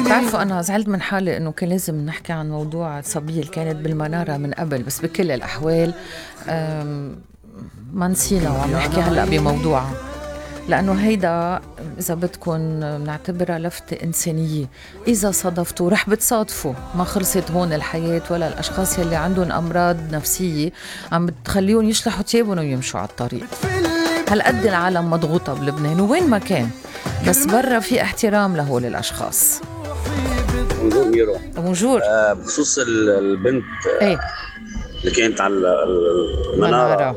بتعرفوا أنا زعلت من حالي إنه كان لازم نحكي عن موضوع الصبية اللي كانت بالمنارة من قبل، بس بكل الأحوال ما نسينا وعم نحكي هلأ بموضوعها، لأنه هيدا إذا بدكن نعتبرها لفتة إنسانية. إذا صادفتوا رح بتصادفوا، ما خلصت هون الحياة، ولا الأشخاص يلي عندهم أمراض نفسية عم بتخليهم يشلحوا تيابهم ويمشوا على الطريق. هالقد العالم مضغوطة بلبنان ووين ما كان، بس برا في احترام لهول الأشخاص. بونجور ميرو. بونجور. بخصوص البنت ايه اللي كانت على المنارة،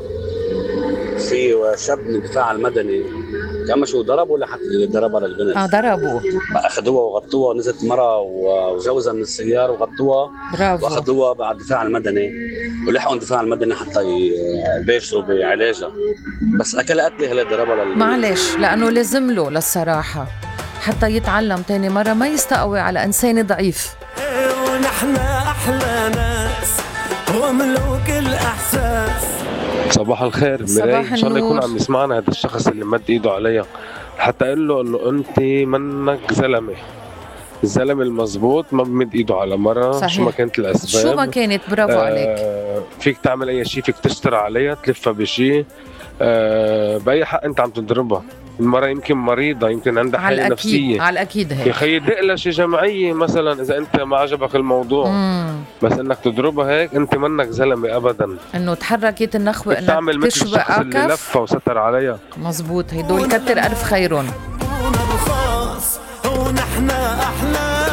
في شاب من الدفاع المدني كان شو ضربوا ولا حتى ضربها للبنت؟ ضربوا، اخذوها وغطوها، نزلت مرة وجوزها من السيارة وغطوها. برافو. واخذوها بعد الدفاع المدني ولحقوا الدفاع المدني حتى يباشروا بعلاجها، بس اكل قتلي هلا ضربها معلش، لانه لازم له للصراحة حتى يتعلم تاني مرة ما يستقوي على انسان ضعيف. ونحن احلى ناس وملوك الاحساس. صباح الخير ميراي، ان شاء الله يكون عم يسمعنا هذا الشخص اللي مد ايده عليا، حتى اقول له انه انت منك زلمه. الزلمه المزبوط ما بمد ايده على مرة. صحيح. شو ما كانت الاسباب، شو ما كانت، برافو عليك. فيك تعمل اي شيء، فيك تشتري عليها، تلفها بشيء، باي حق انت عم تضربها. المرة يمكن مريضة، يمكن عندها حالة نفسية، على الأكيد هيك. يا خيي دق لها شي جمعية مثلا إذا أنت ما عجبك الموضوع. بس إنك تضربها هيك أنت منك زلمة أبدا. إنه تحركت النخوة إنك تشبه أكف اللي لفها وستر عليها. مزبوط، هيدول كتر ألف خيرون. ونحن أحلى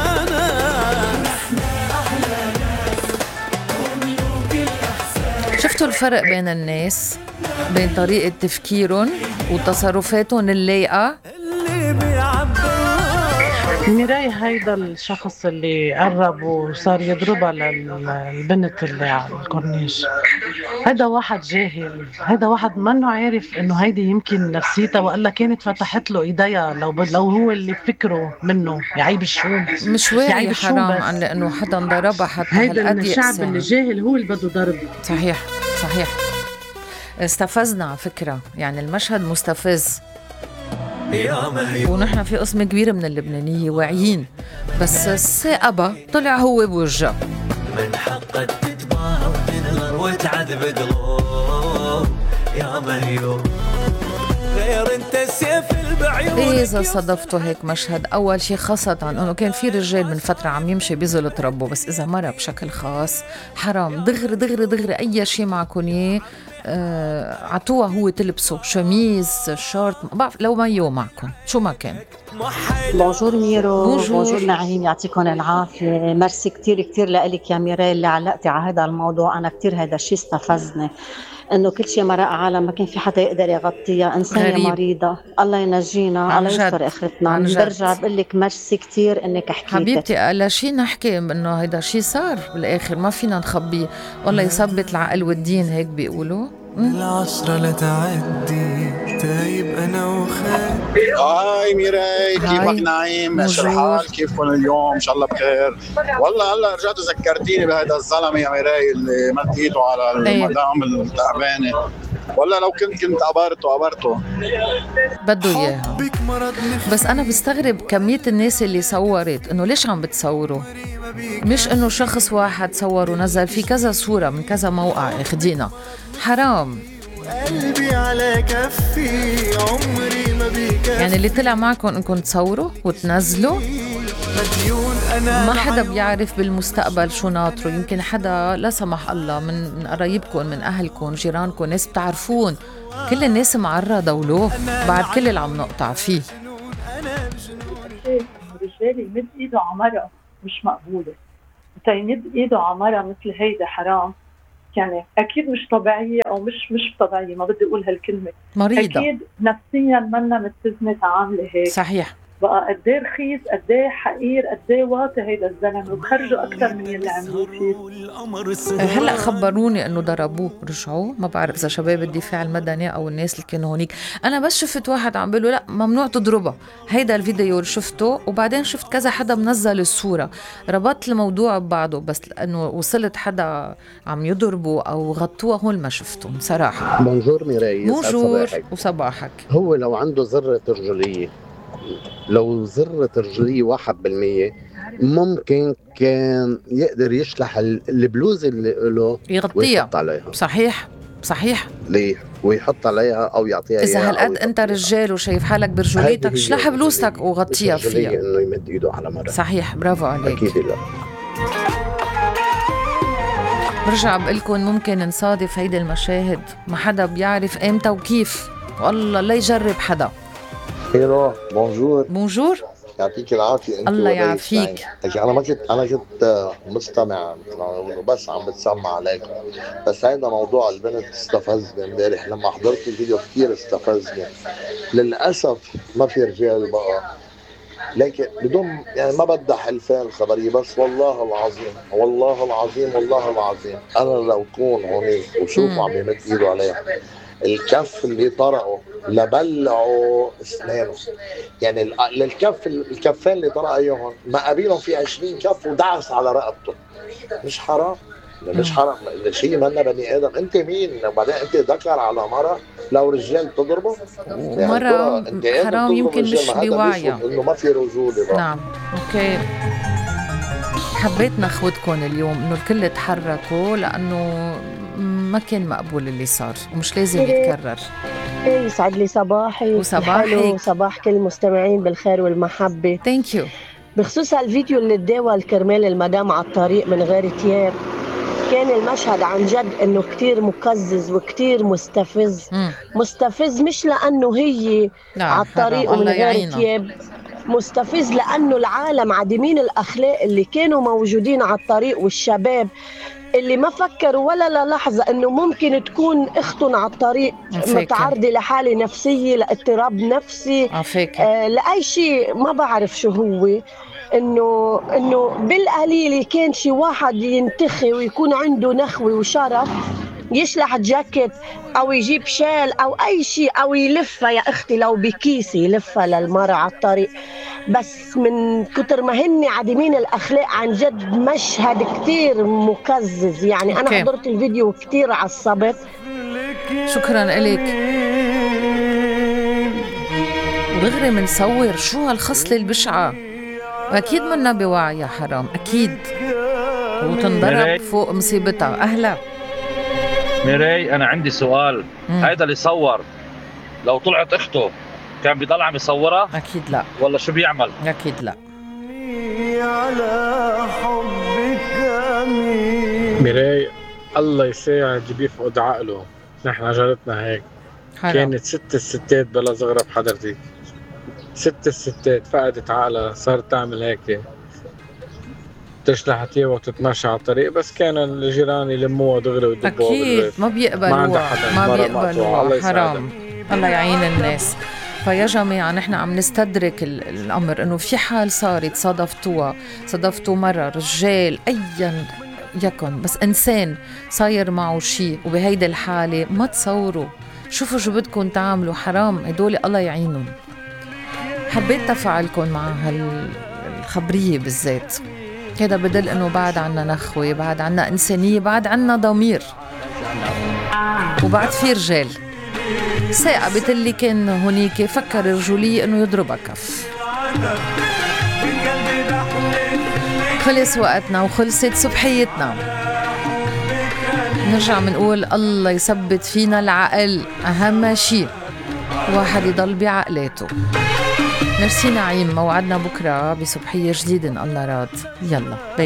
شفتوا الفرق بين الناس، بين طريقة تفكيرهم وتصرفاتهم اللايقة؟ ميراي، هيدا الشخص اللي قرب وصار يضربها للبنت اللي على الكورنيش، هيدا واحد جاهل، هيدا واحد منه عارف انه هيدي يمكن نفسيتها، وقال كانت فتحت له ايديها لو هو اللي فكره منه يعيب الشوم. مش واعي حرام لانه حدا ضربها حتى هيدا الشعب اللي جاهل هو اللي بده ضرب. صحيح صحيح. استفزنا على فكرة، يعني المشهد مستفز، ونحن في قسم كبير من اللبنانية واعيين، بس الثائبة طلع هو بوجه. من حقك تتباهى وتنغر وتعذب قلوب يا مهيوب، غير انت السيف البعيون. إذا صادفتوا هيك مشهد، أول شيء خاصة أنه كان في رجال من فترة عم يمشي بيزلط ربه، بس إذا مرة بشكل خاص حرام دغري دغري دغري أي شيء معكم إيه عطوها هو تلبسه، شميز، شورت، بعرف لو مايو معكم شو ما كان. بونجور ميرو. بونجور نعيم، يعطيكم العافية. ميرسي كتير كتير لك يا ميراي اللي علقتي على هذا الموضوع. أنا كتير هذا الشيء استفزني، إنه كل شيء مرق عالم ما كان في حدا يقدر يغطيها. إنسانة غريب. مريضة، الله ينجينا، الله يستر آخرتنا. برجع بقول لك ميرسي كتير إنك حكيتي حبيبتي. على شيء نحكي إنه هيدا شيء صار بالآخر، ما فينا نخبيه، والله يثبت العقل والدين، هيك بيقولوا. العشرة لتعدي تايب أنا وخير. هاي ميراي، كيفك نعيم؟ ايش الحال؟ كيفكم اليوم؟ ان شاء الله بخير. والله هلا رجعت ذكرتيني بهذا الزلمه يا ميراي اللي مد ايده على المدام التعبانه. والله لو كنت قبرته بده اياها. بس انا بستغرب كميه الناس اللي صورت، انه ليش عم بتصوروا؟ مش انه شخص واحد صور ونزل، في كذا صوره من كذا موقع اخدينا. حرام. قلبي على كفي عمري ما بيكفي، يعني اللي طلع معكم انكم تصوروا وتنزلوا، ما حدا بيعرف بالمستقبل شو ناطره. يمكن حدا لا سمح الله من قرايبكم، من اهلكم، جيرانكم، ناس بتعرفون. كل الناس معرضة ولو بعد كل اللي عم نقطع فيه. الرجال يمد ايده على مرأة مش مقبولة، انت يمد ايده على مرأة مثل هيدا حرام. يعني اكيد مش طبيعية او مش طبيعية، ما بدي اقول هالكلمة، مريضة اكيد نفسيا منا متزنة تعاملي هيك. صحيح. بقى قديه رخيص، قديه حقير، قديه واطي هيدا الزلمه، وبخرجوا اكثر من اللي عملوه فيه. هلا خبروني انه ضربوه، رجعوا. ما بعرف اذا شباب الدفاع المدني او الناس اللي كانوا هونيك. انا بس شفت واحد عم بيقول لا ممنوع تضربها، هيدا الفيديو اللي شفته، وبعدين شفت كذا حدا منزل الصوره، ربطت الموضوع ببعضه، بس لانه وصلت حدا عم يضربوا او غطوها هون ما شفتهم صراحه. بونجور ميراي. بونجور وصباحك. هو لو عنده ذره رجوليه لو ذرة رجلية 1% ممكن كان يقدر يشلح البلوز اللي له يغطيها ويحط عليها. صحيح ليه؟ ويحط عليها أو يعطيها إذا إياها. هالقد أنت رجال وشايف حالك برجوليتك شلح بلوزتك وغطيها فيها. إنه يمد إيده على مرة. صحيح، برافو عليك. أكيد لا. برجع بقلكن ممكن نصادف هيدي المشاهد ما حدا بيعرف امتى وكيف، والله لا يجرب حدا. هيلو، بونجور. يعطيك العافية. الله يعافيك. أنا كنت مستمع بس عم بتسمع عليكم، بس هيدا موضوع البنت استفزني امبارح لما حضرت الفيديو، كتير استفزني. للأسف ما في رجال بقى، لكن بدون يعني ما بدي حلفان الخبرية، بس والله العظيم أنا لو كون هونيك وشوفوا عم يمد إيده عليها، الكف اللي طرقه لبلعوا اسنانه، يعني الكفين اللي طرق ايهم ما قابلهم في 20 كف ودعس على رقبته. مش حرام؟ ده شيء منا بني ادم. انت مين؟ وبعدين انت ذكر على مرة لو رجال تضربه، ومرة يعني حرام يمكن مش بوعيها انه ما في رجولة. نعم اوكي. حبيت ناخدكم اليوم انه الكل تحركوا لانه ما كان مقبول اللي صار ومش لازم يتكرر. يسعد لي صباحي وصباح كل المستمعين بالخير والمحبة. ثانك يو. بخصوص الفيديو اللي تداول كرمال المدام على الطريق من غير تياب، كان المشهد عن جد انه كتير مقزز وكتير مستفز. مستفز مش لانه هي على الطريق ومن غير تياب، مستفز لانه العالم عديمين الاخلاق اللي كانوا موجودين على الطريق والشباب اللي ما فكروا ولا للحظة انه ممكن تكون اختهم على الطريق متعرضة لحالة نفسية، لاضطراب نفسي، لأي شيء ما بعرف شو هو. انه بالقليل كان شي واحد ينتخي ويكون عنده نخوة وشرف، يشلح جاكيت او يجيب شال او اي شيء او يلفها يا اختي لو بكيسي يلفها للمرأة على الطريق. بس من كتر ما هن عديمين الاخلاق عن جد مشهد كتير مقزز. يعني انا حضرت الفيديو كتير عصبت. شكرا لك. ودغري منصور شو هالخصلة البشعة، واكيد منا بوعي يا حرام اكيد، وتنضرب فوق مصيبتها. اهلا ميراي، أنا عندي سؤال. هيدا اللي صور لو طلعت أخته كان بيضل عم يصورها؟ أكيد لا. ولا شو بيعمل؟ أكيد لا. ميراي الله يساعد اللي بيفقد عقله، نحن جارتنا هيك حرام. كانت 6 ستات بلا زغرة بحضرتك، 6 ستات فقدت عقلها صارت تعمل هيك، تشلح تيابها وتتمشى على الطريق، بس كان الجيران يلموها دغري ويدبوها بالبيت. أكيد ما بيقبلوها حرام. الله يعين الناس. فيا جماعة نحن عم نستدرك الأمر إنه في حال صارت صادفتوا مرة رجال أيا يكن، بس إنسان صاير معه شيء وبهيدي الحالة ما تصوروا، شوفوا شو بدكم تعملوا. حرام، هدول الله يعينهم. حبيت تفاعلكم مع هالخبرية بالذات. هذا بدل انه بعد عنا نخوة، بعد عنا انسانية، بعد عنا ضمير، وبعد في رجال. ثاقبت اللي كان هونيك فكر رجولية انه يضربها كف. خلص وقتنا وخلصت صبحيتنا. نرجع منقول الله يثبت فينا العقل، اهم شيء واحد يضل بعقلاته. ميرسي نعيم، موعدنا بكرة بصبحية جديدة إن الله راد. يلا باي باي.